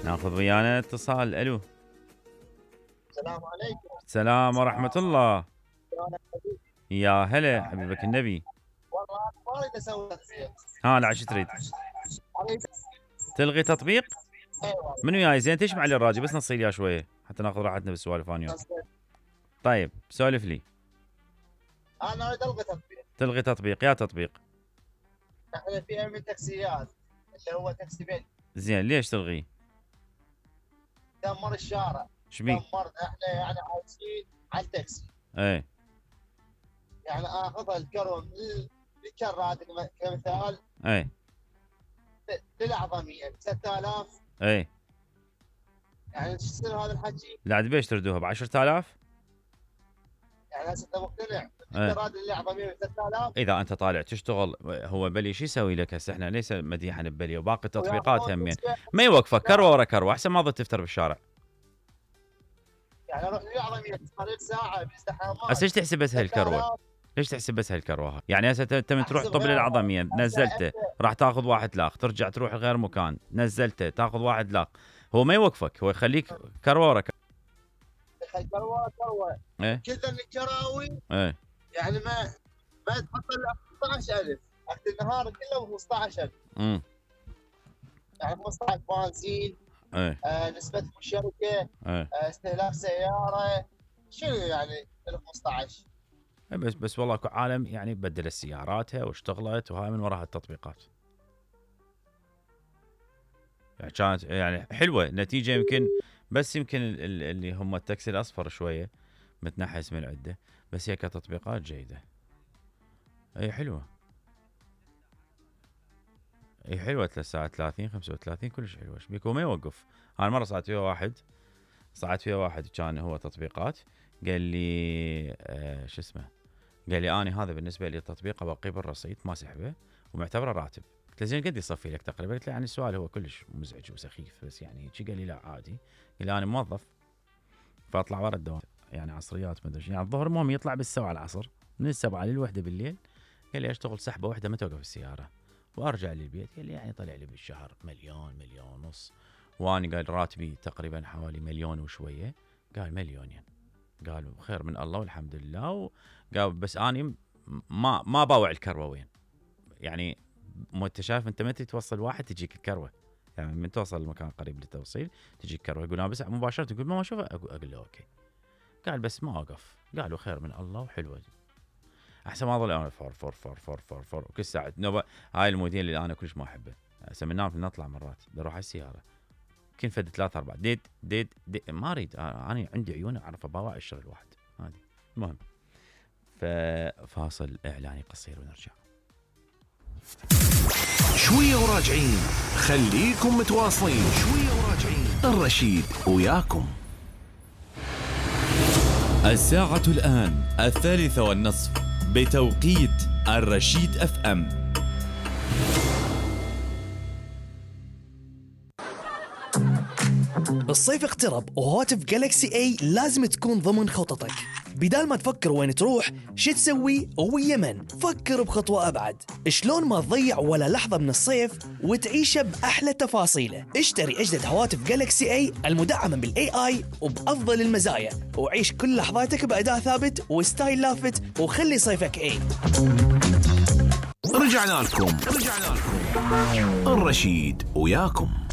ناخذ ويانا اتصال. الو. السلام عليكم. السلام ورحمة الله. يا هلا حبيبك النبي. والله ما اريد اسوي تطبيق. لا شو تريد؟ تلغي تطبيق؟ ايوه. منو جاي زين تشمع لي الراجل بس نصي لي شويه حتى ناخذ راحتنا بالسوالف انا وياك. طيب سولف لي. انا اريد الغي تطبيق. تلغي تطبيق؟ يا تطبيق. احنا في من تاكسيات اللي هو تاكسي بيت. زين ليش تلغيه؟ دمر الشارع. شبيك؟ دمرنا احنا يعني عايشين على التاكسي. ايه. يعني اخذها الكروه من الكرات كمثال. ايه. للأعظمية 6000. ايه. يعني ايش يصير هذا الحكي؟ لا عاد بيش تردوها ب 10000؟ يعني هسه انت مقتنع ايه. الكرات للأعظمية 6000؟ اذا انت طالع تشتغل هو بلي شو يسوي لك هسه؟ احنا ليس مديحا ببلي وباقي التطبيقات همين ما يوقفك كروه ورا كروه احسن ما تظل تفتر بالشارع. يعني اروح للأعظمية قريب ساعة بازدحامات. هسه ايش تحسب بس هالكروه؟ ليش تحسب بس هالكروه؟ يعني هسه انت من تروح طب للعظميه نزلته راح تاخذ 1 لاخ، ترجع تروح غير مكان نزلته تاخذ 1 لاخ، هو ما يوقفك هو يخليك كروه ورا كروه. ايه كثر الكراوي. ايه. يعني ما تحط الا 15000 وقت النهار كله 15000. يعني 15 بنزين. ايه. نسبة الشركة. ايه. استهلاك سيارة. شنو يعني ال 15؟ بس والله عالم يعني بدلت سياراتها واشتغلت وهاي من وراء التطبيقات. يعني كانت يعني حلوه نتيجه يمكن بس يمكن اللي هم التاكسي الاصفر شويه متنحس من العده بس هي كتطبيقات جيده. اي حلوه. اي حلوه 3 ساعات 30 35 كلش حلوه. ايش بيك وما يوقف. انا مره صعدت فيها واحد كان هو تطبيقات قال لي شو اسمه قال لي اني هذا بالنسبه لي التطبيق ابقيه بالرصيد ما سحبه ومعتبره راتب. قلت له زين قد يصفي لك تقريبا؟ قلت له يعني السؤال هو كلش مزعج وسخيف بس يعني شي. قال لي لا عادي. قال لي انا موظف فاطلع ورا الدوام يعني عصريات ما ادري يعني الظهر المهم يطلع بالسبعة العصر من 7 للوحدة بالليل. قال لي اشتغل سحبه واحده ما توقف السياره وارجع للبيت. قال لي يعني طلع لي بالشهر 1,000,000 1,000,000 واني قال راتبي تقريبا حوالي 1,000,000 وشويه. قال 1,000,000 قال خير من الله والحمد لله. قال بس اني ما باوع الكروه وين يعني انت شايف انت متى توصل واحد تجيك الكروه يعني من توصل المكان قريب للتوصيل تجيك كروه. يقول انا بس مباشره يقول ما اشوفه اقول له اوكي. قال بس ما اوقف. قالوا خير من الله وحلوه احسن ما اظل انا فور وكل ساعه نوبه. هاي الموديل اللي انا كلش ما احبه. هسه من نام نطلع مرات بروح على السياره كل فد 3 4 ديد ما اريد انا عندي عيون اعرف اباوع الشغل واحد هذه. المهم فاصل اعلاني قصير ونرجع. شويه وراجعين خليكم متواصلين. شويه وراجعين الرشيد وياكم. الساعة الآن 3:30 بتوقيت الرشيد اف ام. الصيف اقترب وهواتف جالكسي اي لازم تكون ضمن خططك. بدال ما تفكر وين تروح شو تسوي ويا من، فكر بخطوة أبعد. شلون ما تضيع ولا لحظة من الصيف وتعيشه بأحلى تفاصيله. اشتري أجدد هواتف جالكسي اي المدعمة بالاي اي وبأفضل المزايا وعيش كل لحظاتك بأداء ثابت وستايل لافت وخلي صيفك اي. رجعنا لكم الرشيد وياكم.